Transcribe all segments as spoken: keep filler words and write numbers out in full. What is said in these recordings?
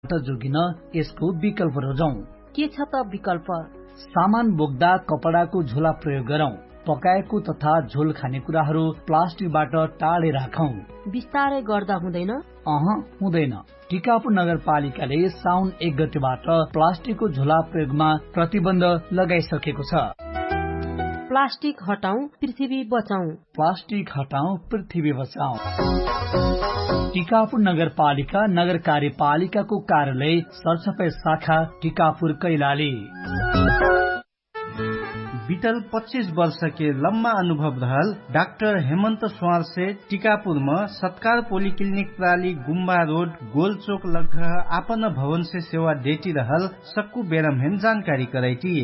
जोगिन यसको विकल्प रोजौँ। के छ त विकल्प? सामान बोक्दा कपडाको झोला प्रयोग गरौँ। पकाएको तथा झोल खाने कुराहरू प्लास्टिकबाट टाढे राखौँ। विस्तारै गर्दा हुँदैन? अह, हुँदैन। टिकापुर नगरपालिकाले साउन एक गतिबाट प्लास्टिकको झोला प्रयोगमा प्रतिबन्ध लगाइसकेको छ। प्लास्टिक हटाउँ, पृथ्वी बचाउँ। प्लास्टिक हटाउँ, पृथ्वी बचाउँ। टिकापुर नगरपालिका नगर कार्यपालिकाको कार्यालय सरसफाइ शाखा टिकापुर कैलाली। बितल पच्चिस वर्षके लम्मा अनुभव रहल डाक्टर हेमन्त स्वारसे टिकापुरम सत्कार पोलिक्लिनिक प्राली गुम्बा रोड गोलचोक लग्घ आपन भवनसे सेवा देटिरहल सक्कु बेरमहेन जानकारी करैटी।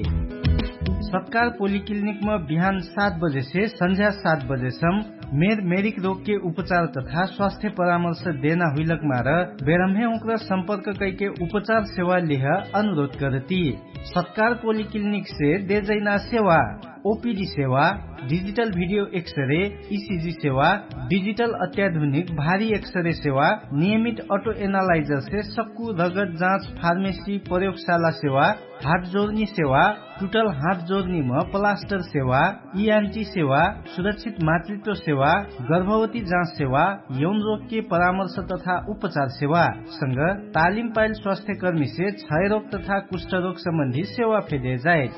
सत्कार पोलिक्लिनिकम बिहान सात बजेसे सन्झ्या सात बजेसम मेर मेरिक रोगके उपचार तथा स्वास्थ्य परामर्श देना हुइलक मार बेरमहे उक्र सम्पर्क कैके उपचार सेवा लिह अनुरोध करती। सत्कार पोलिक्लिनिकसे देजैना सेवा ओपिडी सेवा, डिजिटल भिडियो एक्सरे, इसिजी सेवा, डिजिटल अत्याधुनिक भारी एक्सरे सेवा, नियमित अटो एनालाइजरसे सक्कु रगत जाँच फार्मेसी प्रयोगशाला सेवा, हात जोर्नी सेवा, टुटल हात जोर्नीम प्लास्टर सेवा, इएनटी सेवा, सुरक्षित मातृत्व सेवा, गर्भवती जाँच सेवा, यौन रोगके परामर्श तथा उपचार सेवा संग तालिम पाइल स्वास्थ्यकर्मीसे क्षयरोग तथा कुष्ठरोग सम्बन्धी सेवा फेदे जाए।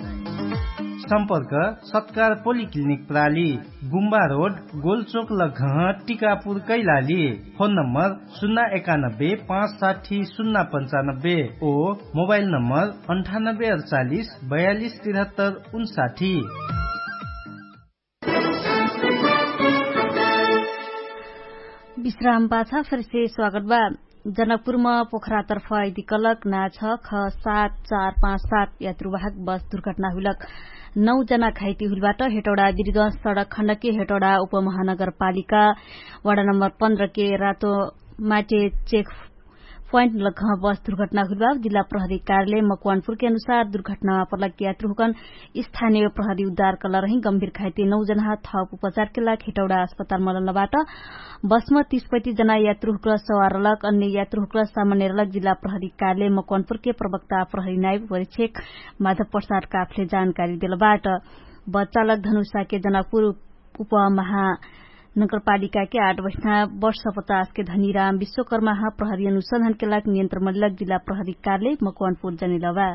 सम्पर्क सत्कार पोलिक्लिनिक प्राली, गुम्बा रोड, गोलचोक लग्घह, टिकापुर कैलाली। फोन नम्बर सुन्ना एकानब्बे पाँच साठी सुन्ना पन्चानब्बे ओ मोबाइल नम्बर अन्ठानब्बे अडचालिस बयालिस तिरहत्तर उन्साठी। विश्राम पाछा फेरसे स्वागत बा। जनकपुरमा पोखरातर्फ अइदिकलक ना छ ख सात चार पाँच सात यात्रुवाहक बस दुर्घटना हुइलक नौ जना घाइती हुइलबाट हेटौडा बिर्ग सडक खण्डके हेटौडा उपमहानगरपालिका वडा नम्बर पन्ध्रके रातो माटे चेक प्वाइन्ट लग्घ बस दुर्घटना हुइलबाट जिल्ला प्रहरी कार्यालय मकवानपुरके अनुसार दुर्घटनामा पर्लक यात्रुहुकन स्थानीय प्रहरी उद्धार कलरहिं गम्भिर घाइते नौ जना थप उपचारके लाग हेटौडा अस्पताल मलनबाट बसम तीस पैतिस जना यात्रुहुक्र सवार रलक अन्य यात्रुहुक्र सामान्य रलक जिल्ला प्रहरी कार्यालय मकवानपुरके प्रवक्ता प्रहरी नाइव परीक्षक माधव प्रसाद काफले जानकारी देलबाट। बच्चालक धनुषाके जनकपुर उपमहानगरपालिकाके आठ बस्ना वर्ष पचासके धनीराम विश्वकर्माह प्रहरी अनुसन्धानके लाग नियन्त्रण मलिलक जिल्ला प्रहरी कार्यालय मकवानपुर जनिलबा।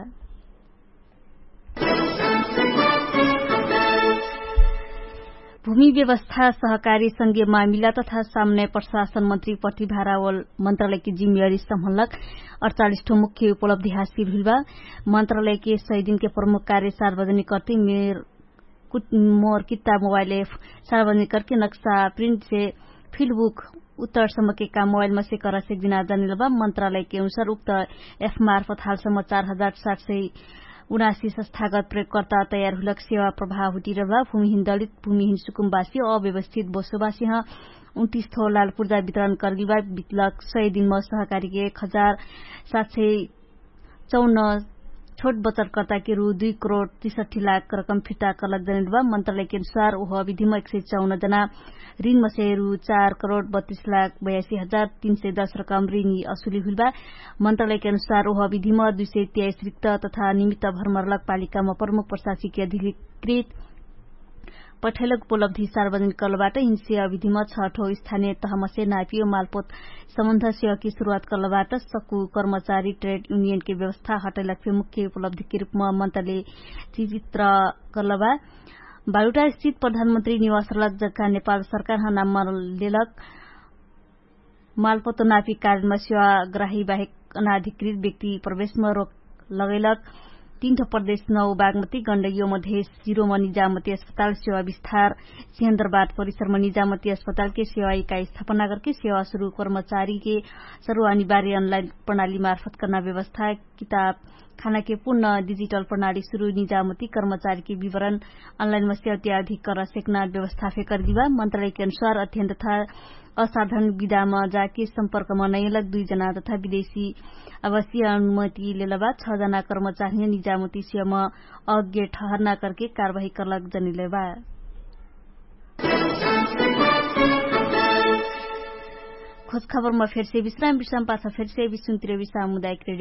भूमि व्यवस्था सहकारी संघीय मामिला तथा सामने प्रशासन मन्त्री प्रतिभारावल मन्त्रालयकी जिम्मेवारी सम्हलक अडचालिस ठो मुख्य उपलब्धि हासिल हुइलबा। मन्त्रालयके सय दिनके प्रमुख कार्य सार्वजनिक कर्ति मेर मोर कित्ता मोबाइल एफ सार्वजनिक करके नक्सा प्रिन्टसे फिल्डबुक उत्तर सम्मके काम मोबाइलमा सेकर सेक दिना जनिलबा। मन्त्रालयके अनुसार उक्त एफ मार्फत हालसम्म चार हजार सात सय उनासी संस्थागत प्रयोगकर्ता तयार हुइलक सेवा प्रभाव हुटिरहबा। भूमिहिन दलित भूमिहिन सुकुमबासी अव्यवस्थित बसोबासीह उन्तिस थो लालपुर्जा वितरण कर्गिलबा। बितलक सय दिनमा सहकारीके एक हजार सात सय चौन छोट बचतकर्ताके रु दुई करोड तिसठी लाख रकम फिर्ता कर्लक जनिलबा। मन्त्रालयके अनुसार ओह अविधिमा एक सय चौन जना ऋणमसे रु चार करोड बत्तिस लाख बयासी हजार तीन सय दस रकम ऋणी असुली हुइलबा। मन्त्रालयके अनुसार ओह अविधिमा दुई सय त्याइस रिक्त तथा निमित्त भरमरलक पालिकामा प्रमुख प्रशासिकी अधिकृत पठैलक उपलब्धि सार्वजनिक कर्लबाट हिंसे अविधिमा छठो स्थानीय तहमसे नापियो मालपोत सम्बन्ध सेवाकी सुरुवात कर्लबाट सक्कु कर्मचारी ट्रेड युनियनके व्यवस्था हटैलक फे मुख्य उपलब्धिके रूपमा मन्तले चिचित्र कर्लबा। बालुटा स्थित प्रधानमन्त्री निवासरलक जग्गा नेपाल सरकारह नाममा लेलक मालपोत नापी कारणमा सेवाग्राही बाहेक अनाधिकृत व्यक्ति प्रवेशमा रोक लगैलक। तीन ठो प्रदेश नौ बागमती गण्डगियो मधेश जिरोमा निजामती अस्पताल सेवा विस्तार सिहन्द्रबाद परिसरमा निजामती अस्पतालके सेवा इकाइ स्थापना करके सेवा सुरु कर्मचारीके सर्व अनिवार्य अनलाइन प्रणाली मार्फत कर्ना व्यवस्था किताब खानाके पुर्ण डिजिटल प्रणाली सुरु निजामती कर्मचारीके विवरण अनलाइनमा सेवा त्याधिक कर्ना सेक्ना व्यवस्था फेकर दिबा। मन्त्रालयके अनुसार अध्ययन तथा असाधन विधाम जाके सम्पर्कमा नैलक दुई जना तथा विदेशी अवश्य अनुमति लेलबा छ जना कर्मचारी निजामती सेवामा अग्य ठहरना करके कारवाही कर्लक जनिलेबा। खोजखबरमा फेरसे विश्राम विश्राम पाछा फेरसे विश्राम तिरविश्राम मुदायक